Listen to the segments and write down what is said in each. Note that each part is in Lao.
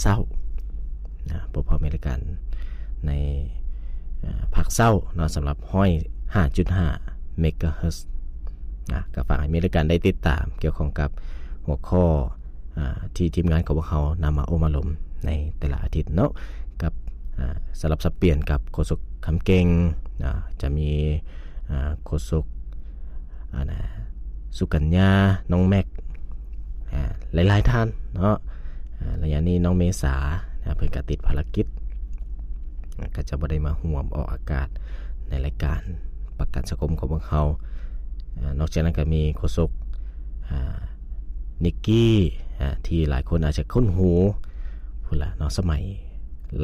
ເຊົ້ານະ ພວກເຮົາມີລາຍການໃນ ອາ ພາກເຊົ້າເນາະ ສຳລັບຮ້ອຍຫ້າຈຸດຫ້າເມກາເຮີດນະ. ກໍຝາກໃຫ້ມີລາຍການໄດ້ຕິດຕາມກ່ຽວຂ້ອງກັບຫົວຂໍ້ ອາ ທີ່ທີມງານຂອງພວກເຮົານຳມາໂອ້ມາລົມໃນແຕ່ລະອາທິດເນາະ ກັບ ອາ ສະຫຼັບສັບປ່ຽນກັບໂຄສົກຄຳເກັ່ງ ອາ ຈະມີ ອາ ໂຄສົກ ອາ ນະ ສຸກັນຍາ ນ້ອງແມັກ ອາ ຫຼາຍໆທ່ານເນາະ. ອາ ໄລຍະນີ້ນ້ອງເມສາ ອາ ເພິ່ນກໍຕິດພາລະກິດ ອາ ກໍຈະບໍ່ໄດ້ມາຮ່ວມອອກອາກາດໃນລາຍການປະກັນສັງຄົມຂອງພວກເຮົາ. ອາ ນອກຈາກນັ້ນກໍມີໂຄສົກ ອາ ນິກກີ້ ອາ ທີ່ຫຼາຍຄົນອາດຈະຄຸ້ນຫູພຸ້ນລະເນາະ ສະໄໝ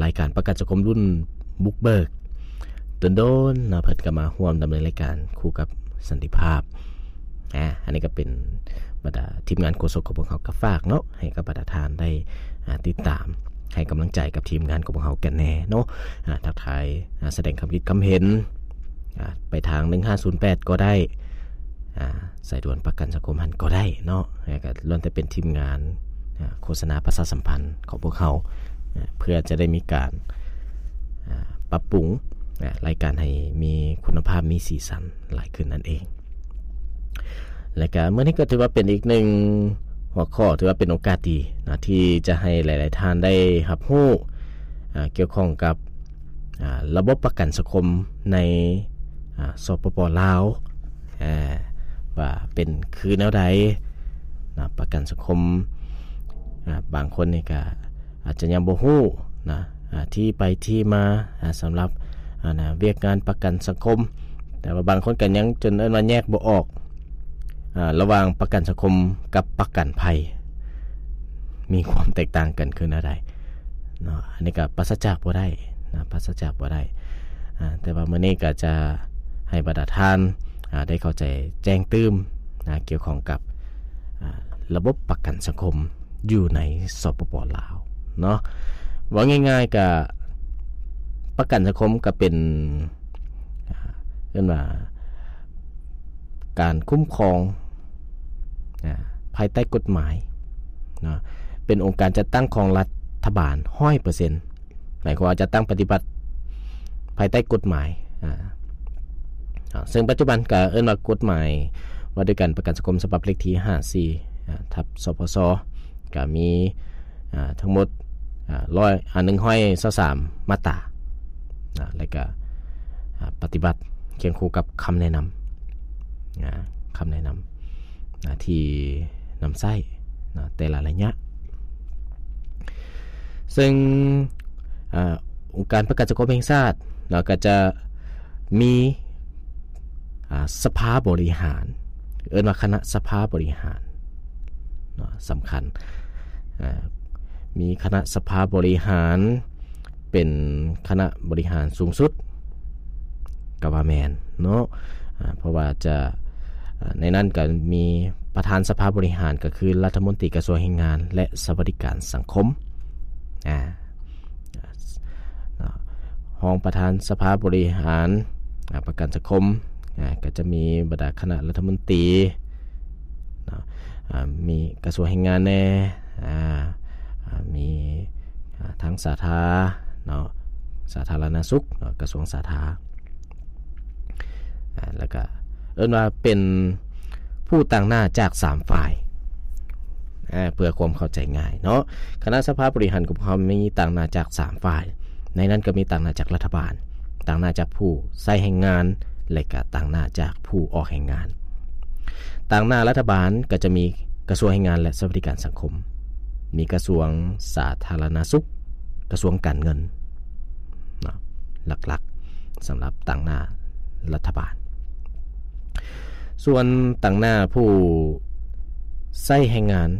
ລາຍການປະກັນສັງຄົມລຸ້ນບຸກເບີກ ດົນໆເນາະ ເພິ່ນກໍມາຮ່ວມດຳເນີນລາຍການຄູ່ກັບສັນຕິພາບ. ອາ ອັນນີ້ກໍເປັນບັນດາທີມງານໂຄສົກຂອງພວກເຮົາກໍຝາກເນາະ ໃຫ້ກັບບັນດາທ່ານໄດ້ ອາ ຕິດຕາມໃຫ້ກຳລັງໃຈກັບທີມງານຂອງພວກເຮົາກັນແດ່ເນາະ. ອາ ທັກທາຍ ອາ ສະແດງຄຳຄິດຄຳເຫັນ ອາ ໄປທາງໜຶ່ງຫ້າສູນແປດກໍໄດ້ ອາ ສາຍດ່ວນປະກັນສັງຄົມຫັ້ນກໍໄດ້ເນາະ. ແລ້ວກໍລ້ວນແຕ່ເປັນທີມງານ ອາ ໂຄສະນາປະຊາສຳພັນຂອງພວກເຮົາ ອາ ເພື່ອຈະໄດ້ມີການ ອາ ປັບປຸງ ອາ ລາຍການໃຫ້ມີຄຸນນະພາບ ມີສີສັນຫຼາຍຂຶ້ນນັ້ນເອງ. ແລະກະມື້ນີ້ກໍຖືວ່າເປັນອີກໜຶ່ງຫົວຂໍ້ ຖືວ່າເປັນໂອກາດດີນະ ທີ່ຈະໃຫ້ຫຼາຍໆທ່ານໄດ້ຮັບຮູ້ ອາ ກ່ຽວຂ້ອງກັບ ອາ ລະບົບປະກັນສັງຄົມໃນ ອາ ສປປ ລາວ ອາ ວ່າເປັນຄືແນວໃດນະ ປະກັນສັງຄົມ. ອາ ບາງຄົນນີ້ກະອາດຈະຍັງບໍ່ຮູ້ນະ ອາ ທີ່ໄປທີ່ມາ ອາ ສຳລັບ ອາ ນະ ວຽກງານປະກັນສັງຄົມ. ແຕ່ວ່າບາງຄົນກໍຍັງຈົນເອີ້ນວ່າແຍກບໍ່ອອກ ອາ ລະຫວ່າງປະກັນສັງຄົມກັບປະກັນໄພ ມີຄວາມແຕກຕ່າງກັນຄືແນວໃດເນາະ. ອັນນີ້ກໍປາສະຈາກບໍ່ໄດ້ນະ ປາສະຈາກບໍ່ໄດ້. ອາ ແຕ່ວ່າມື້ນີ້ກໍຈະໃຫ້ບັນດາທ່ານ ອາ ໄດ້ເຂົ້າໃຈແຈ້ງຕື່ມນະ ກ່ຽວຂ້ອງກັບ ອາ ລະບົບປະກັນສັງຄົມ ຢູ່ໃນ ສປປ ລາວ ເນາະ. ເວົ້າງ່າຍໆ ກະປະກັນສັງຄົມກະເປັນ ອາ ເອີ້ນວ່າການຄຸ້ມຄອງ ອາ ພາຍໃຕ້ກົດໝາຍເນາະ ເປັນອົງການຈັດຕັ້ງຂອງລັດຖະບານຮ້ອຍເປີເຊັນ ໝາຍຄວາມວ່າຈັດຕັ້ງປະຕິບັດພາຍໃຕ້ກົດໝາຍ ອາ ເຊິ່ງປັດຈຸບັນກະເອີ້ນວ່າກົດໝາຍວ່າດ້ວຍການປະກັນສັງຄົມ ສະບັບເລກທີຫ້າສີ່ ອາ ທັບ ສພຊ ກະມີ ອາ ທັງໝົດ ອາ ຮ້ອຍ ອາ ໜຶ່ງຮ້ອຍຊາວສາມມາດຕາ ອາ ແລະກະ ອາ ປະຕິບັດຄຽງຄູ່ກັບຄຳແນະນຳ ອາ ຄຳແນະນຳ ອາ ທີ່ນຳໃຊ້ນະ ແຕ່ລະໄລຍະ. ເຊິ່ງ ອາ ອົງການປະກັນສັງຄົມແຫ່ງຊາດເນາະ ກໍຈະມີ ອາ ສະພາບໍລິຫານ ເອີ້ນວ່າຄະນະສະພາບໍລິຫານເນາະ ສຳຄັນ ອາ ມີຄະນະສະພາບໍລິຫານ ເປັນຄະນະບໍລິຫານສູງສຸດ ກໍວ່າແມ່ນເນາະ ອາ ເພາະວ່າຈະ ອາ ໃນນັ້ນກໍມີປະທານສະພາບໍລິຫານ ກໍຄືລັດຖະມົນຕີກະຊວງແຮງງານ ແລະ ສະຫວັດດີການສັງຄົມ ອາ ເນາະ ຮອງປະທານສະພາບໍລິຫານ ອາ ປະກັນສັງຄົມ ອາ ກໍຈະມີບັນດາຄະນະລັດຖະມົນຕີເນາະ ອາ ມີກະຊວງແຮງງານແດ່ ອາ ອາ ມີ ອາ ທັງສາທາເນາະ ສາທາລະນະສຸກເນາະ ກະຊວງສາທາ ອາ ແລ້ວກະເອີ້ນວ່າເປັນຜູ້ຕາງໜ້າຈາກສາມຝ່າຍ ອາ ເພື່ອຄວາມເຂົ້າໃຈງ່າຍເນາະ. ຄະນະສະພາບໍລິຫານຂອງເຮົາມີຕາງໜ້າຈາກສາມຝ່າຍ ໃນນັ້ນກໍມີຕາງໜ້າຈາກລັດຖະບານ, ຕາງໜ້າຈາກຜູ້ໃຊ້ແຮງງານ ແລະ ກະຕາງໜ້າຈາກຜູ້ອອກແຮງງານ. ຕາງໜ້າລັດຖະບານກໍຈະມີກະຊວງແຮງງານ ແລະ ສະຫວັດດີການສັງຄົມ, ມີກະຊວງສາທາລະນະສຸກ, ກະຊວງການເງິນເນາະ ຫຼັກໆ ສຳລັບຕາງໜ້າລັດຖະບານ. ສ່ວນຕາງໜ້າຜູ້ໃຊ້ແຮງງານ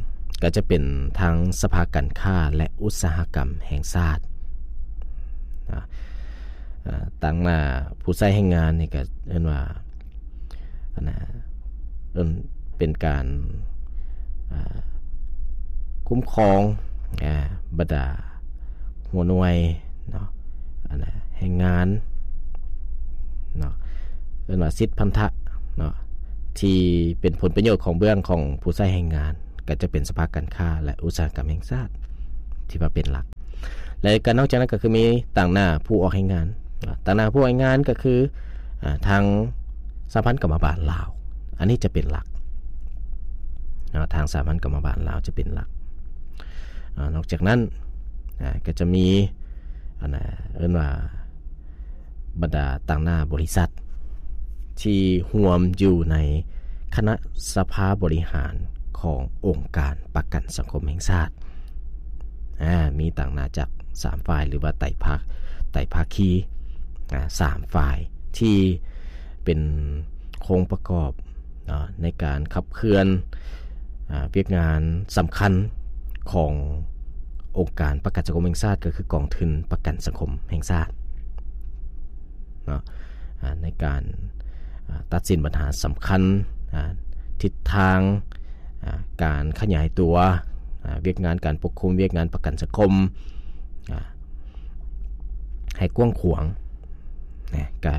ກໍຈະເປັນທາງສະພາການຄ້າ ແລະ ອຸດສາຫະກຳແຫ່ງຊາດນະ. ອາ ຕາງໜ້າຜູ້ໃຊ້ແຮງງານນີ້ກໍເອີ້ນວ່າ ອັນນະ ເອີ້ນເປັນການ ອາ ຄຸ້ມຄອງ ອາ ບັນດາຫົວໜ່ວຍເນາະ ອັນນະ ແຮງງານເນາະ ເອີ້ນວ່າສິດພັນທະເນາະ ທີ່ເປັນຜົນປະໂຫຍດຂອງເບື້ອງຂອງຜູ້ໃຊ້ແຮງງານ ກໍຈະເປັນສະພາການຄ້າ ແລະ ອຸດສາຫະກຳແຫ່ງຊາດ. ທີ່ວ່າເປັນຫຼັກ. ແລະກໍນອກຈາກນັ້ນກໍຄືມີຕາງໜ້າຜູ້ອອກແຮງງານ, ຕາງໜ້າຜູ້ອອກແຮງງານກໍຄື ອາ ທາງສະຫະພັນກຳມະບານລາວ, ອັນນີ້ຈະເປັນຫຼັກເນາະ, ທາງສະຫະພັນກຳມະບານລາວຈະເປັນຫຼັກ. ອາ ນອກຈາກນັ້ນ ອາ ກໍຈະມີ ອັນນ່າ ເອີ້ນວ່າ ບັນດາຕາງໜ້າບໍລິສັດທີ່ຮ່ວມຢູ່ໃນຄະນະສະພາບໍລິຫານຂອງອົງການປະກັນສັງຄົມແຫ່ງຊາດ. ອາ ມີຕາງໜ້າຈາກສາມຝ່າຍ ຫຼືວ່າໄຕພາ ໄຕພາຄີ ອາ ສາມຝ່າຍທີ່ເປັນໂຄງປະກອບ ເນາະ ໃນການຂັບເຄື່ອນ ອາ ວຽກງານສຳຄັນຂອງອົງການປະກັນສັງຄົມແຫ່ງຊາດ ກໍຄືກອງທຶນປະກັນສັງຄົມແຫ່ງຊາດເນາະ ອາ ໃນການ ອາ ຕັດສິນບັນຫາສຳຄັນ ອາ ທິດທາງ ອາ ການຂະຫຍາຍຕົວ ອາ ວຽກງານການປົກຄຸມ, ວຽກງານປະກັນສັງຄົມ ອາ ໃຫ້ກວ້າງຂວາງ. ນະ ກະ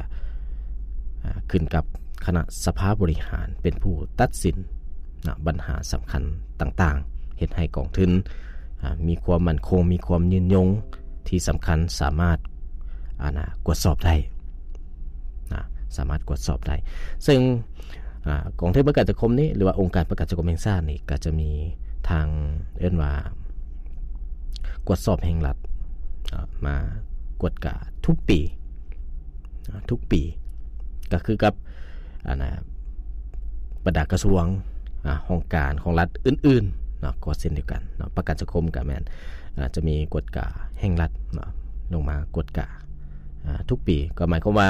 ອາ ຂຶ້ນກັບຄະນະສະພາບໍລິຫານເປັນຜູ້ຕັດສິນນະ ບັນຫາສຳຄັນຕ່າງໆ ເຮັດໃຫ້ກອງທຶນ ອາ ມີຄວາມໝັ້ນຄົງ, ມີຄວາມຍືນຍົງ, ທີ່ສຳຄັນສາມາດ ອາ ນະ ກວດສອບໄດ້ນະ, ສາມາດກວດສອບໄດ້. ເຊິ່ງ ອາ ກອງທຶນປະກັນສັງຄົມນີ້ ຫຼືວ່າອົງການປະກັນສັງຄົມແຫ່ງຊາດນີ້ ກໍຈະມີທາງ ເອີ້ນວ່າ ກວດສອບແຫ່ງລັດ ອາ ມາກວດກາທຸກປີ ອາ ທຸກປີ ກໍຄືກັບ ອັນນ່າ ບັນດາກະຊວງ ອາ ຫ້ອງການຂອງລັດອື່ນໆເນາະ ກໍເຊັ່ນດຽວກັນເນາະ. ປະກັນສັງຄົມກໍແມ່ນ ອາ ຈະມີກວດກາແຫ່ງລັດເນາະ ລົງມາກວດກາ ອາ ທຸກປີ ກໍໝາຍຄວາມວ່າ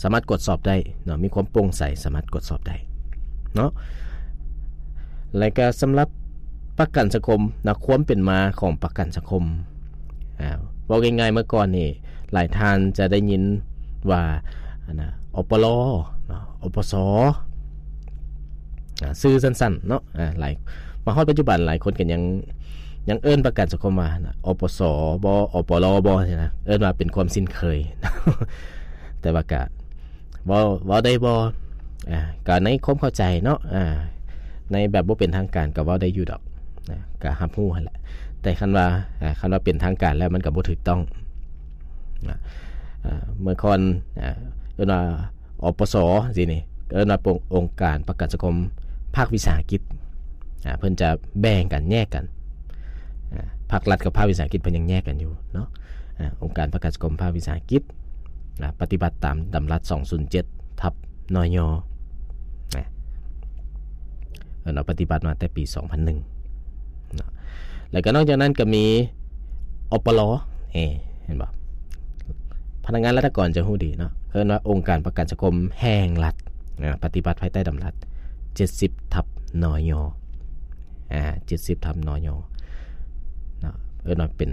ສາມາດກວດສອບໄດ້ເນາະ, ມີຄວາມໂປ່ງໃສ ສາມາດກວດສອບໄດ້ເນາະ. ແລະກໍສຳລັບປະກັນສັງຄົມນະ, ຄວາມເປັນມາຂອງປະກັນສັງຄົມ ອາ ເວົ້າງ່າຍໆ ເມື່ອກ່ອນນີ້ຫຼາຍທ່ານຈະໄດ້ຍິນວ່າ ອັນນ່າ ອປລ ເນາະ ອປສ ອາ ຊື່ສັ້ນໆເນາະ ອາ ຫຼາຍ ມາຮອດປັດຈຸບັນຫຼາຍຄົນກໍຍັງ ຍັງເອີ້ນປະກັນສັງຄົມວ່າ ອປສ ບໍ ອປລ ບໍ ຊີ້ນະ ເອີ້ນວ່າເປັນຄວາມຊິນເຄີຍ ແຕ່ວ່າກະເວົ້າ ເວົ້າໄດ້ບໍ່ ອາ ກະໃນຄວາມເຂົ້າໃຈເນາະ ອາ ໃນແບບບໍ່ເປັນທາງການກະເວົ້າໄດ້ຢູ່ດອກ ນະ ກະຮັບຮູ້ຫັ້ນແຫຼະ. ແຕ່ຄັນວ່າ ອາ ຄັນວ່າເປັນທາງການແລ້ວມັນກະບໍ່ຖືກຕ້ອງ ນະ ອາ ເມື່ອກ່ອນ ອາ ເອີ້ນວ່າ ອປສ ຊີ້ນີ້ ເອີ້ນວ່າອົງການປະກັນສັງຄົມພາກວິສາຫະກິດ ອາ ເພິ່ນຈະແບ່ງກັນ ແຍກກັນ ອາ ພາກລັດກັບພາກວິສາຫະກິດເພິ່ນຍັງແຍກກັນຢູ່ເນາະ. ອາ ອົງການປະກັນສັງຄົມພາກວິສາຫະກິດ ອາ ປະຕິບັດຕາມດຳລັດສອງສູນເຈັດ ທັບ ນຍ ນະ ເອີ ເນາະ ປະຕິບັດມາແຕ່ປີສອງພັນໜຶ່ງເນາະ. ແລ້ວກໍນອກຈາກນັ້ນກໍມີ ອປລ ເອີ ເຫັນບໍ່? ພະນັກງານລັດຖະກອນຈະຮູ້ດີເນາະ, ເອີ້ນວ່າອົງການປະກັນສັງຄົມແຫ່ງລັດ ອາ ປະຕິບັດພາຍໃຕ້ດຳລັດເຈັດສິບ ທັບ ນຍ ອາ ເຈັດສິບ ທັບ ນຍ ເນາະ, ເອີ້ນວ່າເປັນ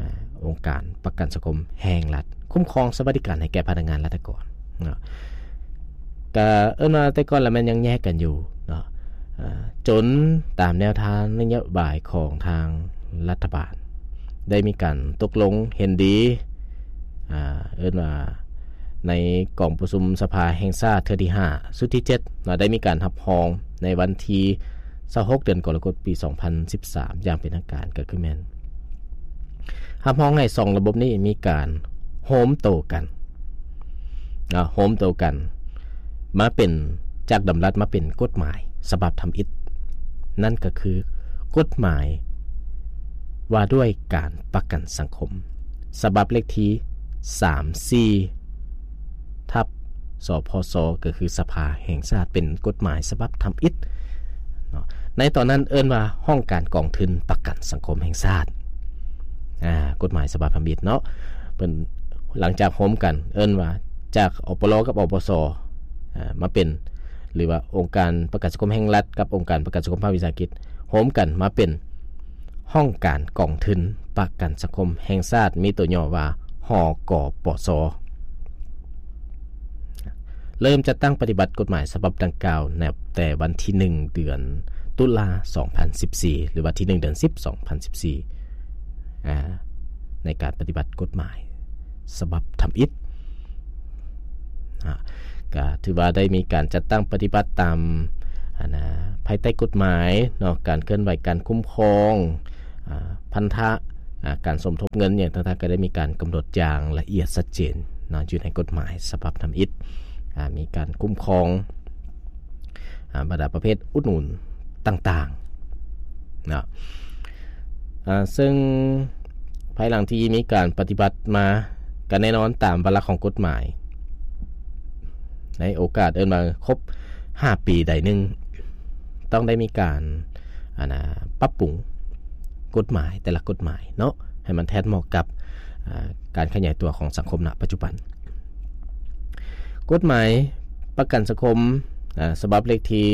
ອາ ອົງການປະກັນສັງຄົມແຫ່ງລັດ ຄຸ້ມຄອງສະຫວັດດີການໃຫ້ແກ່ພະນັກງານລັດຖະກອນເນາະ. ກະເອີ້ນວ່າແຕ່ກ່ອນລະແມ່ນຍັງແຍກກັນຢູ່ເນາະ, ອາ ຈົນຕາມແນວທາງນະໂຍບາຍຂອງທາງລັດຖະບານ ໄດ້ມີການຕົກລົງເຫັນດີ ອາ ເອີ້ນວ່າໃນກອງປະຊຸມສະພາແຫ່ງຊາດເທື່ອທີຫ້າ ຊຸດທີເຈັດເນາະ, ໄດ້ມີການຮັບຮອງໃນວັນທີຊາວຫົກ ເດືອນກໍລະກົດ ປີສອງພັນສິບສາມ ຢ່າງເປັນທາງການ ກໍຄືແມ່ນ ຮັບຮອງໃຫ້ສອງລະບົບນີ້ມີການໂຮມໂຕກັນເນາະ, ໂຮມໂຕກັນມາເປັນ ຈາກດຳລັດມາເປັນກົດໝາຍສະບັບທຳອິດ, ນັ້ນກໍຄືກົດໝາຍວ່າດ້ວຍການປະກັນສັງຄົມ ສະບັບເລກທີສາມສີ່ ທັບ ສພຊ ກໍຄືສະພາແຫ່ງຊາດ ເປັນກົດໝາຍສະບັບທຳອິດເນາະ. ໃນຕອນນັ້ນເອີ້ນວ່າຫ້ອງການກອງທຶນປະກັນສັງຄົມແຫ່ງຊາດ ອາ ກົດໝາຍສະບັບທຳອິດເນາະ. ເພິ່ນ ຫຼັງຈາກໂຮມກັນ ເອີ້ນວ່າຈາກ ອປລ ກັບ ອປສ ອາ ມາເປັນ ຫຼືວ່າອົງການປະກັນສັງຄົມແຫ່ງລັດກັບອົງການປະກັນສັງຄົມພາກວິສາຫະກິດ ໂຮມກັນມາເປັນ ຫ້ອງການກອງທຶນປະກັນສັງຄົມແຫ່ງຊາດ ມີຕົວຫຍໍ້ວ່າ ຫກປສ ເລີ່ມຈັດຕັ້ງປະຕິບັດກົດໝາຍສະບັບດັ່ງກ່າວ ນັບແຕ່ວັນທີໜຶ່ງ ເດືອນຕຸລາ ສອງພັນສິບສີ່ ຫຼືວ່າທີໜຶ່ງ ເດືອນສິບ ສອງພັນສິບສີ່ ອາ ໃນການປະຕິບັດກົດໝາຍສະບັບທຳອິດ ອາ ກະຖືວ່າໄດ້ມີການຈັດຕັ້ງປະຕິບັດຕາມ ອັນນ່າ ພາຍໃຕ້ກົດໝາຍເນາະ, ການເຄື່ອນໄຫວ ການຄຸ້ມຄອງ ອາ ພັນທະ ອ່າ ການສົມທົບເງິນຫຍັງຕ່າງໆ ກໍໄດ້ມີການກຳນົດຢ່າງລະອຽດຊັດເຈນເນາະ ຢູ່ໃນກົດໝາຍສະບັບທຳອິດ ອ່າ ມີການຄຸ້ມຄອງ ອ່າ ບັນດາປະເພດອຸດໜູນຕ່າງໆເນາະ ອ່າ ເຊິ່ງພາຍຫຼັງທີ່ມີການປະຕິບັດມາ ກໍແນ່ນອນຕາມວາລະຂອງກົດໝາຍ ໃນໂອກາດເອີ້ນວ່າຄົບຫ້າປີໃດໜຶ່ງ ຕ້ອງໄດ້ມີການ ອັນນ່າ ປັບປຸງກົດໝາຍແຕ່ລະກົດໝາຍເນາະ ໃຫ້ມັນແທດເໝາະກັບ ອ່າ ການຂະຫຍາຍຕົວຂອງສັງຄົມນະປັດຈຸບັນ. ກົດໝາຍປະກັນສັງຄົມ ອ່າ ສະບັບເລກທີ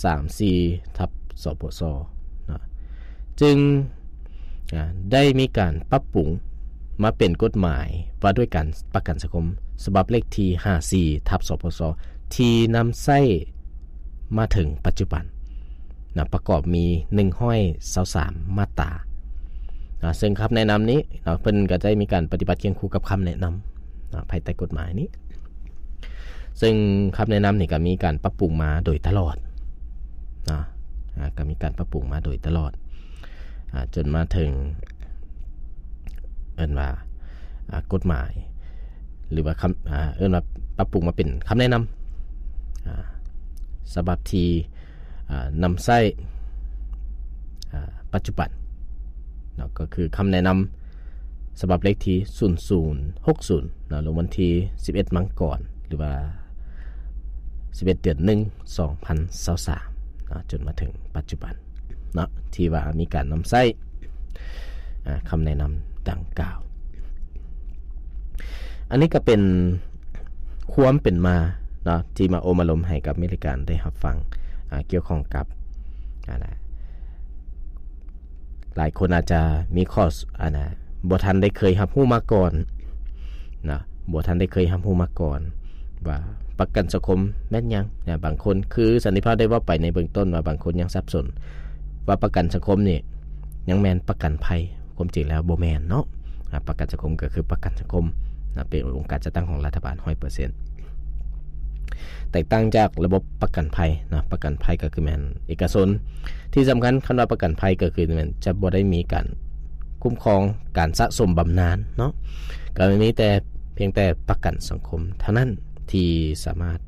ສາມສີ່ ທັບ ສປສ ເນາະ ຈຶ່ງ ອ່າ ໄດ້ມີການປັບປຸງມາເປັນກົດໝາຍວ່າດ້ວຍການປະກັນສັງຄົມ ສະບັບເລກທີຫ້າສີ່ ທັບ ສປສ ທີ່ນຳໃຊ້ມາເຖິງປັດຈຸບັນນະ ປະກອບມີໜຶ່ງຮ້ອຍຊາວສາມມາດຕານະ ເຊິ່ງຄຳແນະນຳນີ້ເນາະ ເພິ່ນກໍໄດ້ມີການປະຕິບັດຄຽງຄູ່ກັບຄຳແນະນຳນະ ພາຍໃຕ້ກົດໝາຍນີ້ ເຊິ່ງຄຳແນະນຳນີ້ກໍມີການປັບປຸງມາໂດຍຕະຫຼອດເນາະ ອ່າ ກໍມີການປັບປຸງມາໂດຍຕະຫຼອດ ອ່າ ຈົນມາເຖິງ ເອີ້ນວ່າ ອ່າ ກົດໝາຍ ຫຼືວ່າຄຳ ອ່າ ເອີ້ນວ່າປັບປຸງມາເປັນຄຳແນະນຳ ອ່າ ສະບັບທີ່ ອ່າ ນຳໃຊ້ ອ່າ ປັດຈຸບັນເນາະ ກໍຄືຄຳແນະນຳສະບັບເລກທີສູນສູນຫົກສູນເນາະ ລົງວັນທີສິບເອັດມັງກອນ ຫຼືວ່າສິບເອັດ ເດືອນໜຶ່ງ ສອງພັນຊາວສາມເນາະ ຈົນມາເຖິງປັດຈຸບັນເນາະ ທີ່ວ່າມີການນຳໃຊ້ ອ່າ ຄຳແນະນຳດັ່ງກ່າວ. ອັນນີ້ກໍເປັນຄວາມເປັນມາເນາະ ທີ່ມາໂອ້ມາລົມໃຫ້ກັບມິດລາຍການໄດ້ຮັບຟັງ ອ່າ ກ່ຽວຂ້ອງກັບ ອ່າ ຫຼາຍຄົນອາດຈະມີຂໍ້ ອັນນ່າ ບໍ່ທັນໄດ້ເຄີຍຮັບຮູ້ມາກ່ອນນະ ບໍ່ທັນໄດ້ເຄີຍຮັບຮູ້ມາກ່ອນວ່າປະກັນສັງຄົມແມ່ນຫຍັງນະ. ບາງຄົນ ຄືສັນຕິພາບໄດ້ເວົ້າໄປໃນເບື້ອງຕົ້ນວ່າ ບາງຄົນຍັງສັບສົນວ່າປະກັນສັງຄົມນີ້ຍັງແມ່ນປະກັນໄພ. ຄວາມຈິງແລ້ວບໍ່ແມ່ນເນາະ ອາ ປະກັນສັງຄົມກໍຄືປະກັນສັງຄົມນະ ເປັນອົງການຈັດຕັ້ງຂອງລັດຖະບານຮ້ອຍເປີເຊັນ ແຕກຕ່າງຈາກລະບົບປະກັນໄພນະ ປະກັນໄພກໍຄືແມ່ນເອກະຊົນ. ທີ່ສຳຄັນ ຄຳວ່າປະກັນໄພກໍຄືແມ່ນຈະບໍ່ໄດ້ມີການຄຸ້ມຄອງການສະສົມບຳນານເນາະ ກໍມີແຕ່ ພຽງແຕ່ປະກັນສັງຄົມເທົ່ານັ້ນທີ່ສາມາດ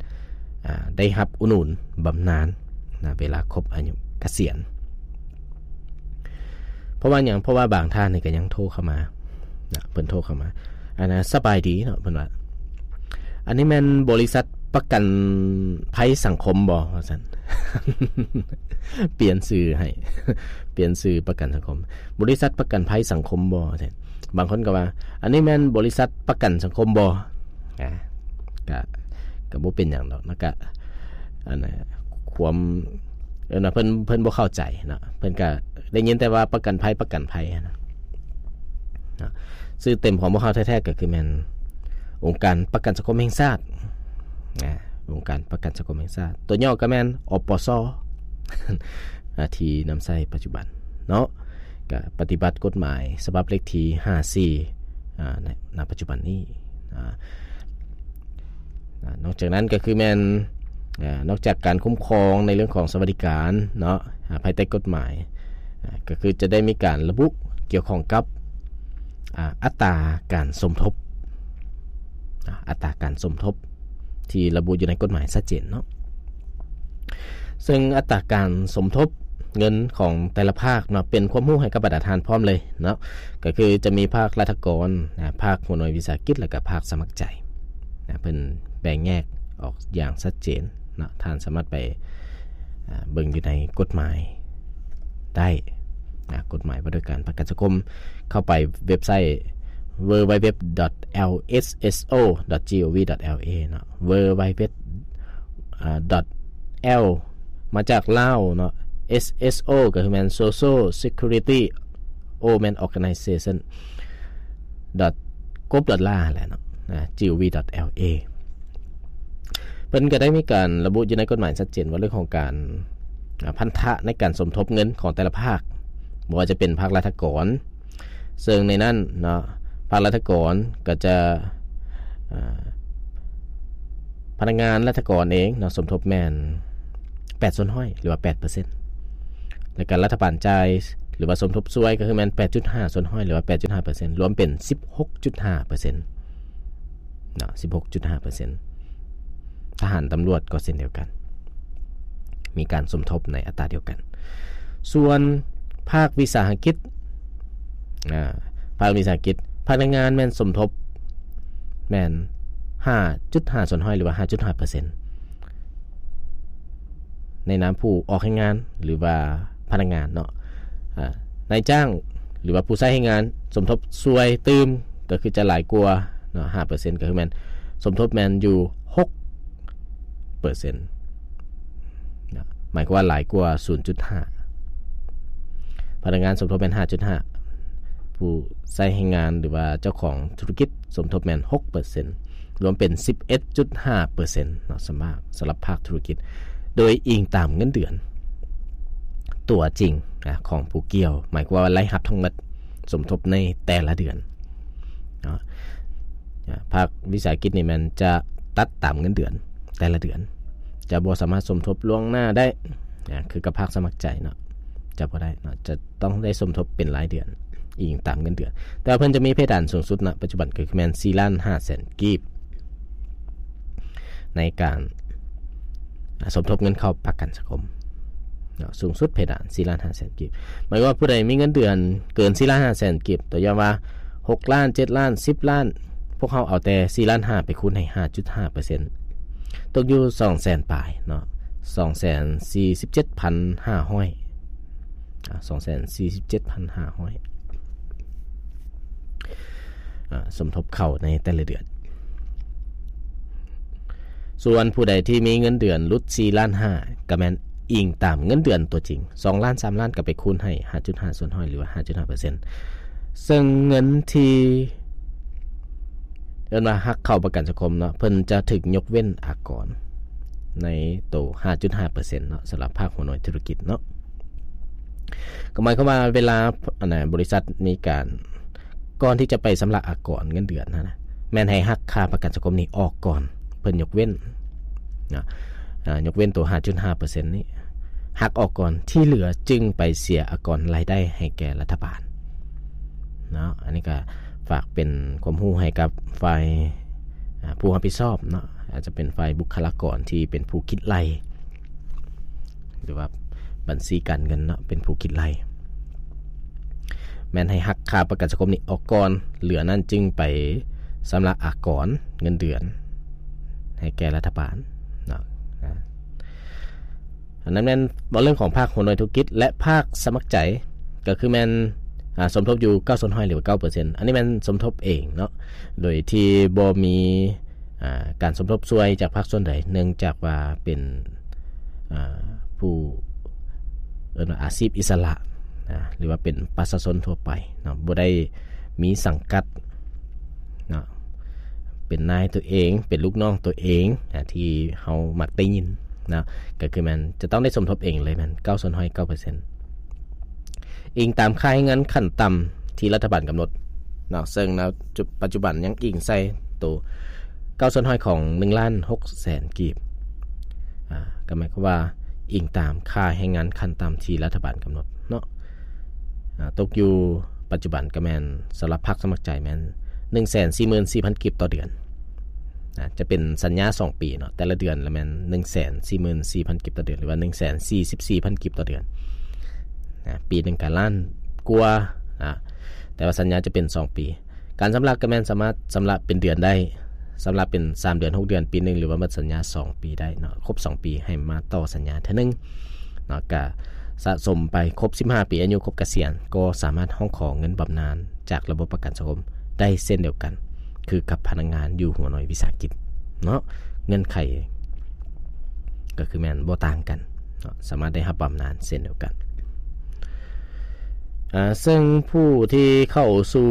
ອາ ໄດ້ຮັບອຸດໜູນບຳນານນະ ເວລາຄົບອາຍຸກະສຽນ. ເພາະວ່າຫຍັງ? ເພາະວ່າບາງທ່ານນີ້ກໍຍັງໂທເຂົ້າມານະ ເພິ່ນໂທເຂົ້າມາ ອັນນ່າ ສະບາຍດີເນາະ ເພິ່ນວ່າ ອັນນີ້ແມ່ນບໍລິສັດປະກັນໄພສັງຄົມບໍ່? ວ່າຊັ້ນ ປ່ຽນຊື່ໃຫ້ ປ່ຽນຊື່ປະກັນສັງຄົມ ບໍລິສັດປະກັນໄພສັງຄົມບໍ່? ວ່າຊັ້ນ ບາງຄົນກໍວ່າ ອັນນີ້ແມ່ນບໍລິສັດປະກັນສັງຄົມບໍ່? ອາ ກະ ກະບໍ່ເປັນຫຍັງດອກນະ ກະ ອັນນ່າ ຄວາມ ເອີ້ນວ່າເພິ່ນ ເພິ່ນບໍ່ເຂົ້າໃຈເນາະ ເພິ່ນກະໄດ້ຍິນແຕ່ວ່າປະກັນໄພ ປະກັນໄພຫັ້ນນະ ນະ ຊື່ເຕັມຂອງພວກເຮົາແທ້ໆ ກໍຄືແມ່ນອົງການປະກັນສັງຄົມແຫ່ງຊາດ ນະ ອົງການປະກັນສັງຄົມແຫ່ງຊາດ ຕົວຫຍໍ້ກໍແມ່ນ ອປສ ອາ ທີ່ນຳໃຊ້ປັດຈຸບັນເນາະ ກະປະຕິບັດກົດໝາຍສະບັບເລກທີຫ້າສີ່ ອາ ໃນ ນະ ປັດຈຸບັນນີ້ ອາ ນອກຈາກນັ້ນກໍຄືແມ່ນ ອາ ນອກຈາກການຄຸ້ມຄອງໃນເລື່ອງຂອງສະຫວັດດີການເນາະ ອາ ພາຍໃຕ້ກົດໝາຍ ອາ ກໍຄືຈະໄດ້ມີການລະບຸກ່ຽວຂ້ອງກັບ ອາ ອັດຕາການສົມທົບ ອາ ອັດຕາການສົມທົບ ທີ່ລະບຸຢູ່ໃນກົດໝາຍຊັດເຈນເນາະ ເຊິ່ງອັດຕາການສົມທົບເງິນຂອງແຕ່ລະພາກເນາະ ເປັນຄວາມຮູ້ໃຫ້ກັບບັນດາທ່ານພ້ອມເລີຍເນາະ ກໍຄືຈະມີພາກລັດຖະກອນ ອາ ພາກຫົວໜ່ວຍວິສາຫະກິດ ແລະກະພາກສະໝັກໃຈນະ ເພິ່ນແບ່ງແຍກອອກຢ່າງຊັດເຈນເນາະ ທ່ານສາມາດໄປ ອາ ເບິ່ງຢູ່ໃນກົດໝາຍໄດ້ນະ ກົດໝາຍວ່າດ້ວຍການປະກັນສັງຄົມ ເຂົ້າໄປເວັບໄຊ www.lsso.gov.lma ເນາະ www. ອາ L ມາຈາກລາວເນາະ S S O ກໍຄືແມ່ນ Social Security O ແມ່ນ Organization ກອບ .la ແຫຼະເນາະ gov.la ເພິ່ນກໍໄດ້ມີການລະບຸຢູ່ໃນກົດໝາຍຊັດເຈນວ່າເລື່ອງຂອງການ ອາ ພັນທະໃນການສົມທົບເງິນຂອງແຕ່ລະພາກ ບໍ່ວ່າຈະເປັນພາກລັດຖະກອນ ເຊິ່ງໃນນັ້ນເນາະ ພາກລັດຖະກອນກໍຈະ ອາ ພະນັກງານລັດຖະກອນເອງເນາະ ສົມທົບແມ່ນແປດສ່ວນຮ້ອຍ ຫຼືວ່າແປດເປີເຊັນ ແລ້ວກໍລັດຖະບານຈ່າຍ ຫຼືວ່າສົມທົບຊ່ວຍ ກໍຄືແມ່ນ ແປດຈຸດຫ້າສ່ວນຮ້ອຍ ຫຼືວ່າ ແປດຈຸດຫ້າເປີເຊັນ ລວມເປັນ ສິບຫົກຈຸດຫ້າເປີເຊັນ ເນາະ ສິບຫົກຈຸດຫ້າເປີເຊັນ. ທະຫານ, ຕຳຫຼວດກໍເຊັ່ນດຽວກັນ ມີການສົມທົບໃນອັດຕາດຽວກັນ. ສ່ວນພາກວິສາຫະກິດ, ອາ, ພາກວິສາຫະກິດ, ພະນັກງານແມ່ນສົມທົບແມ່ນ ຫ້າຈຸດຫ້າສ່ວນຮ້ອຍ ຫຼືວ່າ ຫ້າຈຸດຫ້າເປີເຊັນ ໃນນາມຜູ້ອອກແຮງງານ ຫຼືວ່າພະນັກງານເນາະ. ອາ, ນາຍຈ້າງ ຫຼືວ່າຜູ້ໃຊ້ແຮງງານສົມທົບຊ່ວຍຕື່ມ ກໍຄືຈະຫຼາຍກວ່າເນາະ ຫ້າເປີເຊັນ ກໍຄືແມ່ນສົມທົບແມ່ນຢູ່ ຫົກເປີເຊັນ ນະ ໝາຍຄວາມວ່າຫຼາຍກວ່າ ສູນຈຸດຫ້າ. ພະນັກງານສົມທົບແມ່ນ ຫ້າຈຸດຫ້າ, ຜູ້ໃຊ້ແຮງງານ ຫຼືວ່າເຈົ້າຂອງທຸລະກິດສົມທົບແມ່ນ ຫົກເປີເຊັນ ລວມເປັນ ສິບເອັດຈຸດຫ້າເປີເຊັນ ເນາະ ສຳລັບ ສຳລັບພາກທຸລະກິດ ໂດຍອີງຕາມເງິນເດືອນຕົວຈິງ ນະ ຂອງຜູ້ກ່ຽວ, ໝາຍຄວາມວ່າລາຍຮັບທັງໝົດສົມທົບໃນແຕ່ລະເດືອນເນາະ. ອາ, ພາກວິສາຫະກິດນີ້ແມ່ນຈະຕັດຕາມເງິນເດືອນແຕ່ລະເດືອນ, ຈະບໍ່ສາມາດສົມທົບລ່ວງໜ້າໄດ້ ອາ, ຄືກັບພາກສະໝັກໃຈເນາະ, ຈະບໍ່ໄດ້ເນາະ, ຈະຕ້ອງໄດ້ສົມທົບເປັນລາຍເດືອນ ອີງຕາມເງິນເດືອນ. ແຕ່ວ່າເພິ່ນຈະມີເພດານສູງສຸດນະປັດຈຸບັນ ກໍຄືແມ່ນ ສີ່ລ້ານຫ້າແສນກີບ ໃນການ ອາ, ສົມທົບເງິນເຂົ້າປະກັນສັງຄົມເນາະ, ສູງສຸດເພດານ ສີ່ລ້ານຫ້າແສນກີບ. ໝາຍຄວາມວ່າຜູ້ໃດມີເງິນເດືອນເກີນ ສີ່ລ້ານຫ້າແສນກີບ, ຕົວຢ່າງວ່າ ຫົກລ້ານ, ເຈັດລ້ານ, ສິບລ້ານ, ພວກເຮົາເອົາແຕ່ ສີ່ລ້ານຫ້າ ໄປຄູນໃຫ້ ຫ້າຈຸດຫ້າເປີເຊັນ ຕົກຢູ່ ສອງແສນປາຍເນາະ, ສອງແສນສີ່ສິບເຈັດພັນຫ້າຮ້ອຍ ອາ, ສອງແສນສີ່ສິບເຈັດພັນຫ້າຮ້ອຍ ອາ, ສົມທົບເຂົ້າໃນແຕ່ລະເດືອນ. ສ່ວນຜູ້ໃດທີ່ມີເງິນເດືອນຫຼຸດ ສີ່ລ້ານຫ້າ ກໍແມ່ນອີງຕາມເງິນເດືອນຕົວຈິງ, ສອງລ້ານ, ສາມລ້ານ ກໍໄປຄູນໃຫ້ ຫ້າຈຸດຫ້າສ່ວນຮ້ອຍ ຫຼືວ່າ ຫ້າຈຸດຫ້າເປີເຊັນ. ເຊິ່ງເງິນທີ່ ເອີ້ນວ່າຫັກເຂົ້າປະກັນສັງຄົມເນາະ, ເພິ່ນຈະຖືກຍົກເວັ້ນອາກອນໃນໂຕ ຫ້າຈຸດຫ້າເປີເຊັນເນາະ, ສຳລັບພາກຫົວໜ່ວຍທຸລະກິດເນາະ. ກໍໝາຍຄວາມວ່າເວລາ ອັນນ່າ ບໍລິສັດມີການ ກ່ອນທີ່ຈະໄປຊຳລະອາກອນເງິນເດືອນຫັ້ນນະ, ແມ່ນໃຫ້ຫັກຄ່າປະກັນສັງຄົມນີ້ອອກກ່ອນ, ເພິ່ນຍົກເວັ້ນເນາະ, ອາ, ຍົກເວັ້ນໂຕ ຫ້າຈຸດຫ້າເປີເຊັນນີ້ ຫັກອອກກ່ອນ, ທີ່ເຫຼືອຈຶ່ງໄປເສຍອາກອນລາຍໄດ້ໃຫ້ແກ່ລັດຖະບານ. ເນາະ, ອັນນີ້ກໍຝາກເປັນຄວາມຮູ້ໃຫ້ກັບຝ່າຍ ອາ ຜູ້ຮັບຜິດຊອບເນາະ, ອາດຈະເປັນຝ່າຍບຸກຄະລາກອນທີ່ເປັນຜູ້ຄິດໄລ່ ຫຼືວ່າບັນຊີການເງິນເນາະ ເປັນຜູ້ຄິດໄລ່, ແມ່ນໃຫ້ຫັກຄ່າປະກັນສັງຄົມນີ້ອອກກ່ອນ, ເຫຼືອນັ້ນຈຶ່ງໄປຊຳລະອາກອນເງິນເດືອນໃຫ້ແກ່ລັດຖະບານເນາະ. ອາ ອັນນັ້ນແມ່ນເວົ້າເລື່ອງຂອງພາກຫົວໜ່ວຍທຸລະກິດ ແລະ ພາກສະໝັກໃຈ ກໍຄືແມ່ນ ອາ ສົມທົບຢູ່ເກົ້າສ່ວນຮ້ອຍ ຫຼືວ່າ ເກົ້າເປີເຊັນ. ອັນນີ້ແມ່ນສົມທົບເອງເນາະ ໂດຍທີ່ບໍ່ມີ ອາ ການສົມທົບຊ່ວຍຈາກພາກສ່ວນໃດ, ເນື່ອງຈາກວ່າເປັນ ອາ ຜູ້ ເອີ້ນວ່າອາຊີບອິດສະຫຼະ ອາ ຫຼືວ່າເປັນປະຊາຊົນທົ່ວໄປເນາະ, ບໍ່ໄດ້ມີສັງກັດເນາະ, ເປັນນາຍຕົວເອງ, ເປັນລູກນ້ອງຕົວເອງ ອາ ທີ່ເຮົາມັກໄດ້ຍິນເນາະ, ກໍຄືແມ່ນຈະຕ້ອງໄດ້ສົມທົບເອງເລີຍ, ແມ່ນເກົ້າສ່ວນຮ້ອຍ ເກົ້າເປີເຊັນ ອີງຕາມຄ່າແຮງງານຂັ້ນຕ່ຳທີ່ລັດຖະບານກຳນົດເນາະ, ເຊິ່ງໃນປັດຈຸບັນຍັງອີງໃສ່ໂຕເກົ້າສ່ວນຮ້ອຍຂອງໜຶ່ງລ້ານຫົກແສນກີບ, ອາ ກໍໝາຍຄວາມວ່າອີງຕາມຄ່າແຮງງານຂັ້ນຕ່ຳທີ່ລັດຖະບານກຳນົດເນາະ, ອາ ຕົກຢູ່ປັດຈຸບັນກໍແມ່ນ ສຳລັບພາກສະໝັກໃຈແມ່ນໜຶ່ງແສນສີ່ໝື່ນສີ່ພັນກີບຕໍ່ເດືອນ. ນະ ຈະເປັນສັນຍາສອງປີເນາະ, ແຕ່ລະເດືອນລະແມ່ນໜຶ່ງແສນສີ່ໝື່ນສີ່ພັນກີບຕໍ່ເດືອນ ຫຼືວ່າໜຶ່ງແສນສີ່ສິບສີ່ພັນກີບຕໍ່ເດືອນນະ, ປີໜຶ່ງກະລ້ານກວ່ານະ, ແຕ່ວ່າສັນຍາຈະເປັນສອງປີ. ການຊຳລະກໍແມ່ນສາມາດຊຳລະເປັນເດືອນໄດ້, ຊຳລະເປັນສາມເດືອນ, ຫົກເດືອນ, ປີໜຶ່ງ ຫຼືວ່າໝົດສັນຍາສອງປີໄດ້ເນາະ, ຄົບສອງປີໃຫ້ມາຕໍ່ສັນຍາເທື່ອໜຶ່ງເນາະ, ກະສະສົມໄປຄົບສິບຫ້າປີ, ອາຍຸຄົບກະສຽນ ກໍສາມາດຮ້ອງຂໍເງິນບຳນານ ຈາກລະບົບປະກັນສັງຄົມໄດ້ເຊັ່ນດຽວກັນ ຄືກັບພະນັກງານຢູ່ຫົວໜ່ວຍວິສາຫະກິດເນາະ, ເງື່ອນໄຂກໍຄືແມ່ນບໍ່ຕ່າງກັນເນາະ, ສາມາດໄດ້ຮັບບຳນານເຊັ່ນດຽວກັນ. ອາ ເຊິ່ງຜູ້ທີ່ເຂົ້າສູ່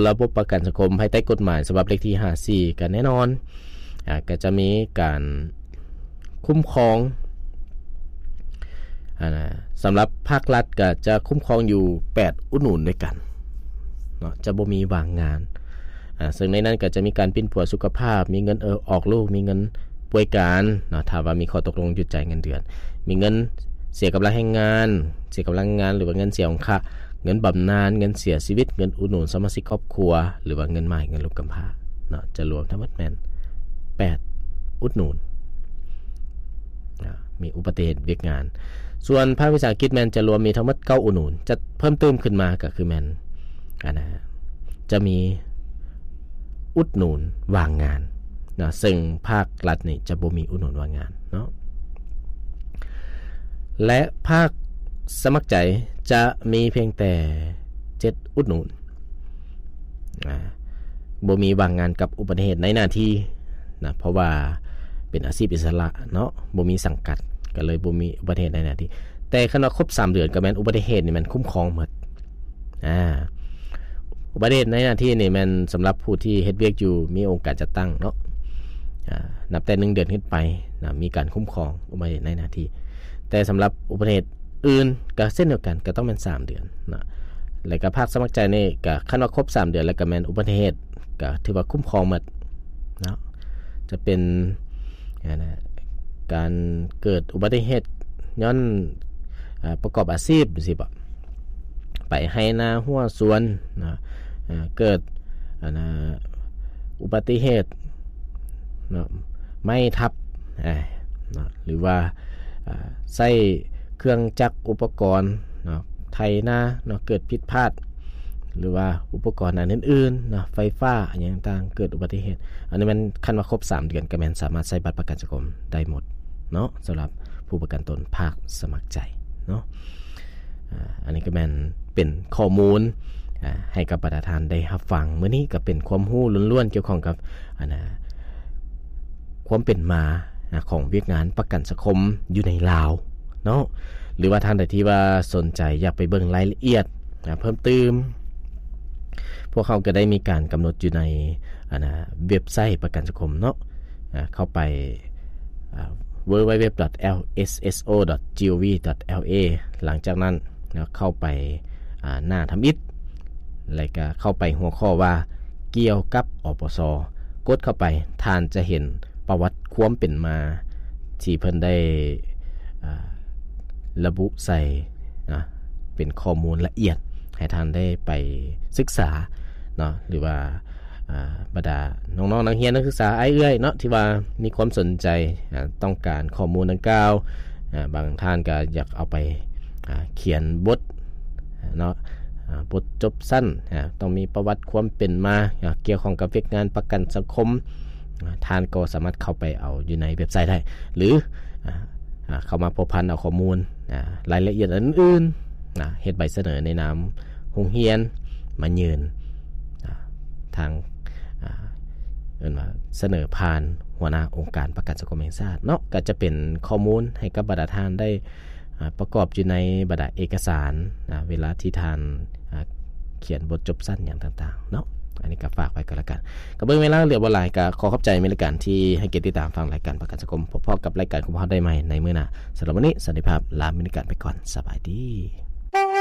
ລະບົບປະກັນສັງຄົມພາຍໃຕ້ກົດໝາຍສະບັບເລກທີຫ້າສິບສີ່ ກໍແນ່ນອນ ອາ ກໍຈະມີການຄຸ້ມຄອງ ອາ ສຳລັບພາກລັດກໍຈະຄຸ້ມຄອງຢູ່ແປດອຸດໜູນດ້ວຍກັນເນາະ, ຈະບໍ່ມີວ່າງງານ. ອາ ເຊິ່ງໃນນັ້ນກໍຈະມີການປິ່ນປົວສຸຂະພາບ, ມີເງິນ ເອີ ອອກລູກ, ມີເງິນປ່ວຍການເນາະ, ຖ້າວ່າມີຂໍ້ຕົກລົງຢຸດຈ່າຍເງິນເດືອນ, ມີເງິນເສຍກຳລັງແຮງງານ, ເສຍກຳລັງງານ ຫຼືວ່າເງິນເສຍຂອງຄ່າ ເງິນບຳນານ, ເງິນເສຍຊີວິດ, ເງິນອຸດໜູນສະມາຊິກຄອບຄົວ ຫຼືວ່າເງິນໝ້າຍ, ເງິນລູກກຳພ້າເນາະ ຈະລວມທັງໝົດແມ່ນແປດອຸດໜູນ ອາ ມີອຸປະຕິເຫດວຽກງານ. ສ່ວນພາກວິສາຫະກິດແມ່ນຈະລວມມີທັງໝົດເກົ້າອຸດໜູນ, ຈະເພີ່ມຕື່ມຂຶ້ນມາກໍຄືແມ່ນ ອັນນະ ຈະມີອຸດໜູນວ່າງງານເນາະ ເຊິ່ງພາກລັດນີ້ຈະບໍ່ມີອຸດໜູນວ່າງງານເນາະ ແລະ ພາກສະໝັກໃຈຈະມີພຽງແຕ່ເຈັດອຸດໜູນ ອາ ບໍ່ມີວ່າງງານກັບອຸປະຕິເຫດໃນໜ້າທີ່ນະ ເພາະວ່າເປັນອາຊີບອິດສະຫຼະເນາະ ບໍ່ມີສັງກັດ ກໍເລີຍບໍ່ມີອຸປະຕິເຫດໃນໜ້າທີ່. ແຕ່ຄັນວ່າຄົບສາມເດືອນ ກໍແມ່ນອຸປະຕິເຫດນີ້ແມ່ນຄຸ້ມຄອງໝົດ. ອາ ອຸປະຕິເຫດໃນໜ້າທີ່ນີ້ແມ່ນສຳລັບຜູ້ທີ່ເຮັດວຽກຢູ່ ມີອົງການຈັດຕັ້ງເນາະ ອາ ນັບແຕ່ໜຶ່ງເດືອນຂຶ້ນໄປນະ ມີການຄຸ້ມຄອງອຸປະຕິເຫດໃນໜ້າທີ່. ແຕ່ສຳລັບອຸປະຕິເຫດອື່ນກໍເຊັ່ນດຽວກັນ ກໍຕ້ອງແມ່ນສາມເດືອນເນາະ ແລ້ວກໍພາກສະໝັກໃຈນີ້ກໍ ຄັນວ່າຄົບສາມເດືອນແລ້ວ ກໍແມ່ນອຸປະຕິເຫດ ກໍຖືວ່າຄຸ້ມຄອງໝົດເນາະ ຈະເປັນ ອັນນະ ການເກີດອຸບັດຕິເຫດຍ້ອນ ອາ ປະກອບອາຊີບຈັ່ງຊີ້ບໍ ໄປໄຮ່ນາຮົ້ວສວນນະ ເກີດ ອັນນະ ອຸບັດຕິເຫດເນາະ ໄມ້ທັບ ເນາະ ຫຼືວ່າ ອາ ໃຊ້ເຄື່ອງຈັກອຸປະກອນເນາະ ໄຖນາເນາະ ເກີດຜິດພາດ ຫຼືວ່າອຸປະກອນອັນອື່ນໆເນາະ ໄຟຟ້າຫຍັງຕ່າງໆ ເກີດອຸບັດຕິເຫດ ອັນນີ້ແມ່ນ ຄັນວ່າຄົບສາມເດືອນ ກໍແມ່ນສາມາດໃຊ້ບັດປະກັນສັງຄົມໄດ້ໝົດເນາະ ສຳລັບຜູ້ປະກັນຕົນພາກສະໝັກໃຈເນາະ. ອາ ອັນນີ້ກໍແມ່ນເປັນຂໍ້ມູນ ອາ ໃຫ້ກັບບັນດາທ່ານໄດ້ຮັບຟັງ. ມື້ນີ້ກໍເປັນຄວາມຮູ້ລ້ວນໆ ກ່ຽວຂ້ອງກັບ ອັນນະ ຄວາມເປັນມາ ອາ ຂອງວຽກງານປະກັນສັງຄົມຢູ່ໃນລາວເນາະ ຫຼືວ່າທ່ານໃດທີ່ວ່າສົນໃຈຢາກໄປເບິ່ງລາຍລະອຽດ ອາ ເພີ່ມຕື່ມ ພວກເຮົາກໍໄດ້ມີການກຳນົດຢູ່ໃນ ອັນນະ ເວັບໄຊປະກັນສັງຄົມເນາະ ອາ ເຂົ້າໄປ ອາ www.lsso.gov.la ຫຼັງຈາກນັ້ນເນາະ ເຂົ້າໄປ ອາ ໜ້າທຳອິດ ແລ້ວກໍເຂົ້າໄປຫົວຂໍ້ວ່າກ່ຽວກັບ ອປສ ກົດເຂົ້າໄປ ທ່ານຈະເຫັນປະຫວັດຄວາມເປັນມາທີ່ເພິ່ນໄດ້ ອາ ລະບຸໃສ່ນະ ເປັນຂໍ້ມູນລະອຽດ ໃຫ້ທ່ານໄດ້ໄປສຶກສາເນາະ ຫຼືວ່າ ອາ ບັນດານ້ອງໆ ນັກຮຽນນັກສຶກສາອ້າຍເອື້ອຍເນາະ ທີ່ວ່າມີຄວາມສົນໃຈ ອາ ຕ້ອງການຂໍ້ມູນດັ່ງກ່າວ ອາ ບາງທ່ານກໍຢາກເອົາໄປ ອາ ຂຽນບົດເນາະ ອາ ບົດຈົບຊັ້ນ ອາ ຕ້ອງມີປະຫວັດຄວາມເປັນມາ ອາ ກ່ຽວຂ້ອງກັບວຽກງານປະກັນສັງຄົມ ອາ ທ່ານກໍສາມາດເຂົ້າໄປເອົາຢູ່ໃນເວັບໄຊໄດ້ ຫຼື ອາ ອາ ເຂົ້າມາພົວພັນເອົາຂໍ້ມູນ ອາ ລາຍລະອຽດອັນອື່ນໆ ອາ ເຮັດໃບສະເໜີໃນນາມໂຮງຮຽນມາຍື່ນ ອາ ທາງ ອາ ເອີ້ນວ່າສະເໜີຜ່ານຫົວໜ້າອົງການປະກັນສັງຄົມແຫ່ງຊາດເນາະ ກໍຈະເປັນຂໍ້ມູນໃຫ້ກັບບັນດາທ່ານໄດ້ ອາ ປະກອບຢູ່ໃນບັນດາເອກະສານ ອາ ເວລາທີ່ທ່ານ ອາ ຂຽນບົດຈົບຊັ້ນຫຍັງຕ່າງໆເນາະ. ອັນນີ້ກໍຝາກໄວ້ກໍແລ້ວກັນ ກໍເບິ່ງເວລາເຫຼືອບໍ່ຫຼາຍ ກໍຂໍຂອບໃຈເມລິກັນທີ່ໃຫ້ກຽດຕິດຕາມຟັງລາຍການປະກັນສັງຄົມ. ພົບພໍ້ກັບລາຍການຂອງພວກເຮົາໄດ້ໃໝ່ໃນມື້ໜ້າ. ສຳລັບມື້ນີ້ ສະຫວັດດີ ລາເມລິກັນໄປກ່ອນ. ສະບາຍດີ.